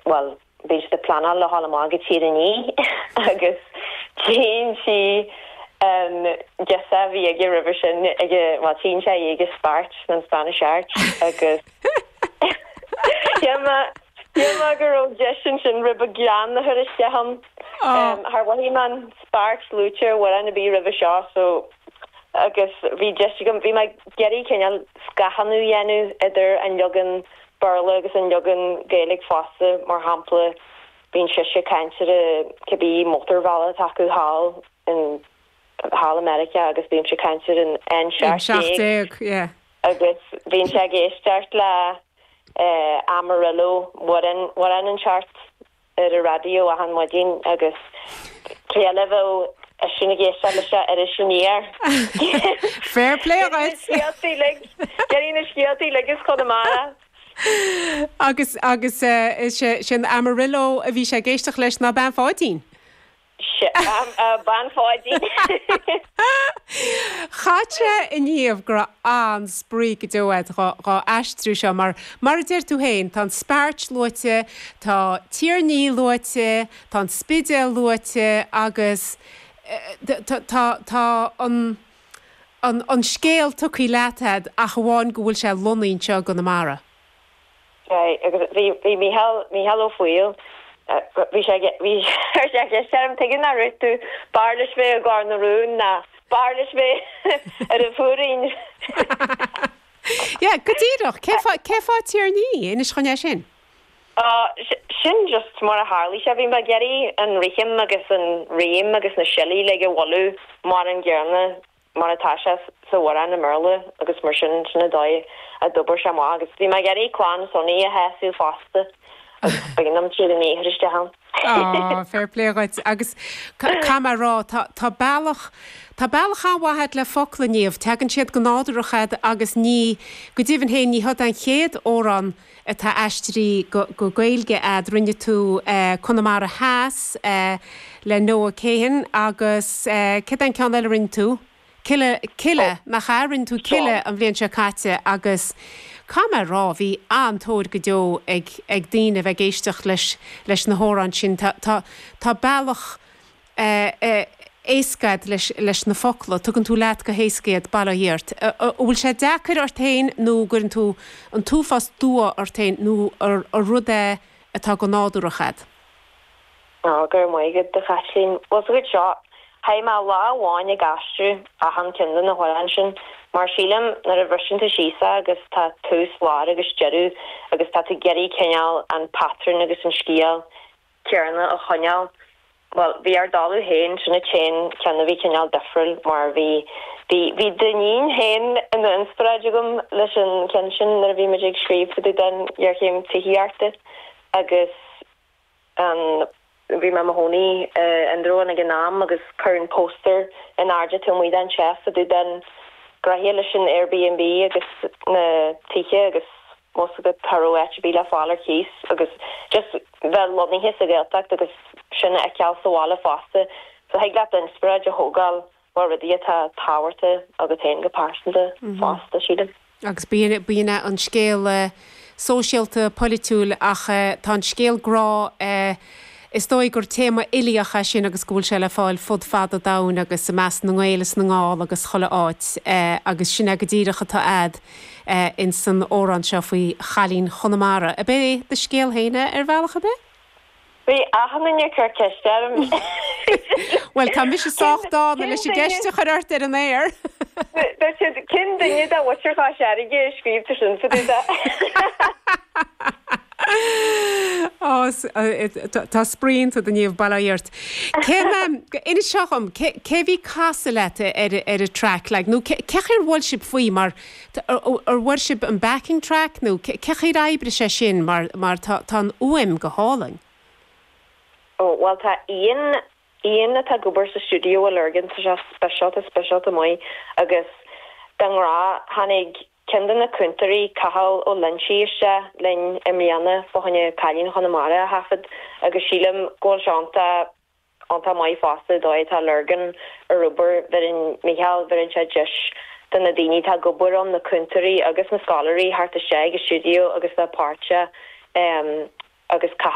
Bhuel, bíonn siad ag pleanáil le dhul amach go Tír an Fhia agus tchíonn sí an girseach a bhí aige roimhe sin ag, bhuel, tchíonn sé í ag an Speairt, an Spanish Arch agus shíl mé, shíl mé go raibh deis ansin rud beag greann a chur isteach ann. Char mhothaigh mé an Speairt luaite ar amhrán ar bith roimhe seo so agus bhí deis agam, bhí mé ag iarraidh cineál scáthánú a dhéanamh idir an leagan Béarla agus an leagan Gaeilge fosta, mar shampla, bíonn sise ag caint ar cibé mótarbhealach atá acu thall in thall i Meiriceá agus bímse ag caint ar an N17 yeah. agus bíonn sé ag éisteacht le Amarillo, amhrán amhrán inteacht ar an raidió achan maidin agus cé eile a bheadh eisean ag éisteacht leis ar Iris Aniar. Fair play dhuit! Scéaltaí uilig, déarfainn na scéaltaí uilig as Conamara. Agus, agus is é sin Amarillo a bhí sé ag éisteacht leis ná Bean Pháidín. Bean Pháidín. Chaithfeadh sé a Niamh go raibh an-spraoi go deo agat dhá aistriú seo mar, mar a deir tú féin, tá an Speairt luaite, tá Tír an Fhia luaite, tá an Spidéal luaite agus tá, tá an, an, an scéal tugtha leat agat ach amháin go bhfuil sé lonnaithe anseo i gConamara. Right, agus bhí, bhí Mícheál, Mícheál Ó Foighil, bhí sé, bhí, chuir sé ceist orm, tuige nach raibh tú, b'fhearr leis bheith i gCor na Rún ná b'fhearr leis bheith ar an Phúirín. Yeah, go díreach, cé fáth, cé fáth Tír an Fhia, inis dhúinn é sin. Á, sin just mar a tharlaigh sé, bhí mé ag iarraidh an rithim agus an rím agus na siollaí uilig a bhualadh mar an gcéanna mar atá sé sa amhrán i mBéarla agus mar sin, sin an dóigh a d'oibir sé amach agus bhí mé ag iarraidh clann Sonaí a shásamh fosta agus b'éigean dom Tír an Fhia a chur isteach ann. Á, fair play dhuit agus caithfidh mé a rá, tá, tá bealach, tá bealach an-mhaith agat le focla, Niamh, tagann siad go nádúrach agat agus ní, go deimhin féin, ní hiod an chéad amhrán atá aistrithe go Gaeilge a'd. Rinne tú Conamara Theas le Noah Kahan agus céard é an ceann eile a rinne tú? Kila, Kila, nach ea? Rinne tú Kila an bhliain seo caite agus caithfidh mé a rá, bhí an-tóir go deo ag ag daoine a bheith ag éisteacht leis leis na hamhráin sin. Tá tá tá bealach éasca a'd leis na focla, tugann tú leat go héasca iad, bail ó Dhia ort. An bhfuil sé deacair ort féin nó an gcuireann tú an t-uafás dua ort féin nó ar rud é atá go nádúrach a'd? Ó, go raibh maith agat, a Chaitlín. Bhuel, sa chuid seo, chaith mé lá amháin ag aistriú achan ceann de na hamhráin sin, mar sílim nuair a bhriseann tú síos é agus tá tús, lár agus deireadh agus tá tú ag iarraidh cineál an patrún agus an scéal céanna a choinneáil. Bhuel, bhí Ár dTalamh Féin, sin an t-aon cheann a bhí cineál difriúil mar bhí, bhí, bhí d'iníon féin ina inspioráid agam leis an cheann sin nuair a bhí muid ag scríobh fá dtaobh den ghéarchéim tithíochta agus an, bhí mé i mo chónaí i Indreabhán ag an am agus cuireadh an póstaer in airde taobh amuigh den teach fá dtaobh den ghnóithe leis an Airbnb agus na tithe agus bhfuil 's agat cha raibh áit ar bith le fáil ar cíos agus just bheith lonnaithe sa Ghaeltacht agus sin a fheiceáil sa bhaile fosta. So thig leat inspioráid a thógáil ó rudaí atá tábhachtach agat féin go pearsanta fosta, sílim. Agus bíonn an scéal sóisialta, polaitiúil ach tá an scéal grá, is dóigh gur téama uilíoch é sin agus go bhfuil sé le fáil fud fad an domhain agus i measc na nGael is na nGall agus chuile áit agus sin é go díreach atá a'd ins an amhrán seo faoi chailín Chonamara. Ab é do scéal féin é ar bhealach ar bith? Bhí achan duine ag cur ceiste orm. Bhuel, tá mise sách dána leis an gceist a chur ort ar an aer. Dúirt siad, cén duine de mhuintir Chois Fharraige a scríobh tú sin fá dtaobh de? Á, tá spraoi iontu, a Niamh, bail ó Dhia ort. Cén, inis seo dhom, cé a bhí ag casadh leat ar an traic, like, nó cé chaoi ar bhuail sibh faoi mar Ar bhfuair sibh an backing track nó cé chaoi ar oibrigh sé sin mar mar tá tá an fhuaim go hálainn. Ó bhuel tá Ian, Ian atá ag obair sa stiúideo i Lurgan, tá sé speisialta speisialta maith agus de ghnáth tháinig ceann de na cúntóirí, Cathal Ó Loinsigh isteach linn i mbliana fá choinne Cailín Chonamara a thaifead agus sílim go bhfuil sé iontach iontach maith fosta dóigh atá Lurgan ar obair, bheireann Mícheál, bheireann sé deis do na daoine atá ag obair ann, na cúntóirí agus na scoláirí theacht isteach ag an stiúideo agus bheith páirteach agus.